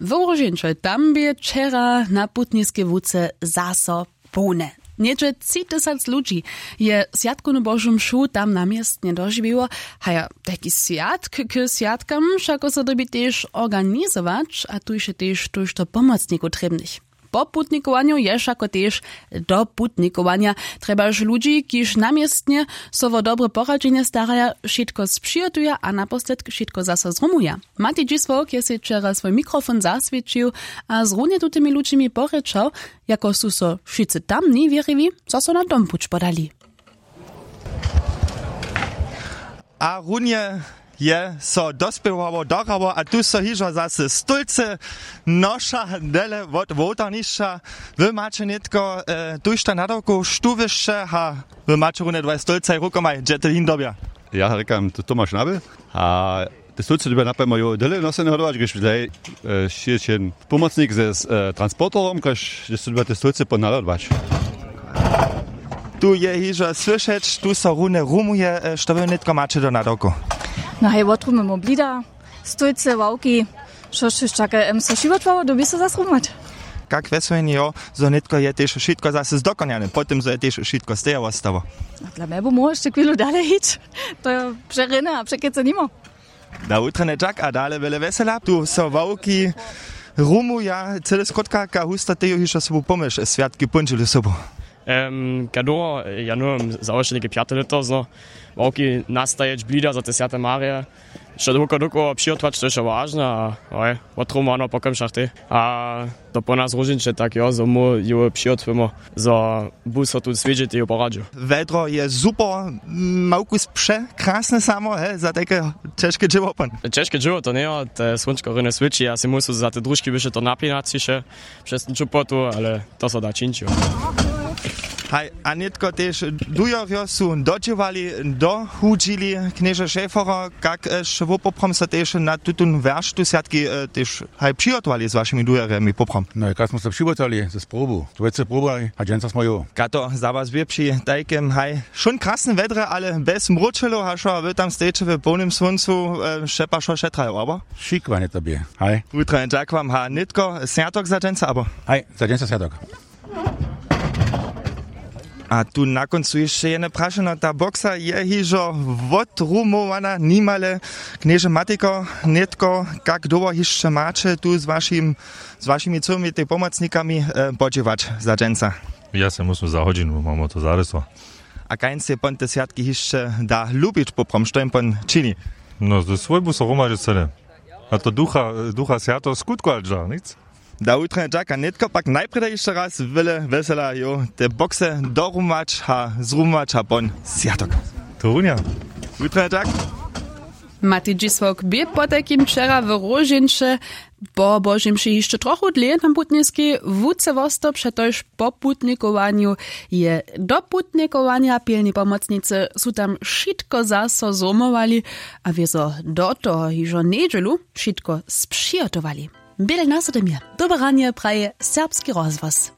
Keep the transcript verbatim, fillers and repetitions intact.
W Róžeńće tam bě wčera na putniskej łuce zaso połne. Něhdźe tři tysac ludźi je swjatkownu božu mšu tam na městnje dožiwiło. Haja, tajki swjatk k swjatkam wšako so dyrbi tež organizować, a tuž je tež tójšto pomocnikow trěbnych. Po putnikowanju je wšako tež do putnikowanja. Trjebaš ludźi, kiž na městnje so wo dobre poradźenje staraja, wšitko spřihotuja a naposledk wšitko zaso zrumuja. Mati dźisławk je sej wčera swój mikrofon zaswěćił a z runje tutymi ludźimi porěčał, jako su so wšitcy tamni wěriwi zaso na dompuć podali. A runje je so dospěwało dorało a tu so hižo zasy stólcy noša dele wot wołtarnišća. Wy maće nětko tuž ta nadawkow štuwěšće a wy maće runje dwaj stólcaj rukomaj dźe ty hin dobja. Ja rěkam, to tomaš nabě. A te stólcy dyrbja napjemo jo dele nosene hodować, gdyž wdaj šěće pomocnik ze transporterom, kaž dźe so dyrbja te stólcy ponadodwać. Tu je hižo słyšeć, tu so runje rumuje. Što wy nětko maće do nadawkow? No hej, wotrumujemo blida, stólcy, ławki, što štož take em so wšitko dyrbi so zas rumować. Kak wjeswjenje jo, zo nětko je tež wšitko zase zdokonjane po tym zo je tež wšitko steja wostało? Dla mje by móhło hišće chwilu dale hić. To je přerjene a překecy nimo. Na wutrjene tak a dale wjele wjesela tu so ławki rumuja cyle skrótka ka husta teju hišće sobu pomyš swjatki póndźelu sobu. Em, kadoho ja nowym załoženike pjate lěto zno ławki nastajeć blida za te swjate marje, wšo dokoło dokoło přihotować to je wšo wažne a hoj, wotrumowano po kemšach tej a to po nas róžniće tak jo zo mu ju přihotujemo, zo bu so tu swědźe teju poradźił. Wjedro je super. Małkus překrasne samo he za tajke ćežke dźěło pon. Ćežke dźěło to njejo, te słónčko rjene swěći a sej musu za te družki byše to napinaciše přez ten čupotu, ale to so da čińć jo. Haj, a nětko tež dujerjo su dodźěłali, dohudźili. Knježe šeforo, kak sće wopoprom so tež na tutón wjerštu swjatki tež haj přihotowali z wašimi dujerjemi poprom? No jak smy so přihotowali ze sprobu dwójce probu a dźensa smo jo. Kato za was bě při tajkem haj wšón krasnym wjedrje ale bjez mróčelow hašo a wy tam stejeće w połnym słóncu, šepašo šetrajo abo? Šikowanje to bě. Haj. Wutranje tak wam ha nětko swjatok za dźensa abo? Haj, za dźensa swjatok. A tu na kóncu hišće jedne prašeno, ta boksa je hižo wotrumowana nimale. Knježe matiko, nětko kak dołho hišće maće tu z wašim z wašimi cyłymi tej pomocnikami podźěłać za dźensa? Ja sej musym za hodźinu mamo to zarysło. A kańc je pon te swjatki hišće da lubić poprom što jim pon čini? No ze swójbu so hromadźe cyle a to ducha ducha swjato skutkować dźa nic. Da wutranje tak a nětko pak najprjeda hišće raz wjele wjesela jo te bokse dorumować a zrumować a pon swjatok. To runja. Wutranje tak. Mati dźisławk bě potajkim wčera w róžeńće po božej mši hišće trochu dlě na putniskej łuce wosto přetož po putnikowanju je do putnikowanja pilni pomocnicy su tam wšitko zaso zrumowali a wězo do toho hižo njedźelu wšitko spřihotowali. Běle na so tym je dobre ranje praje serbski rozhłos.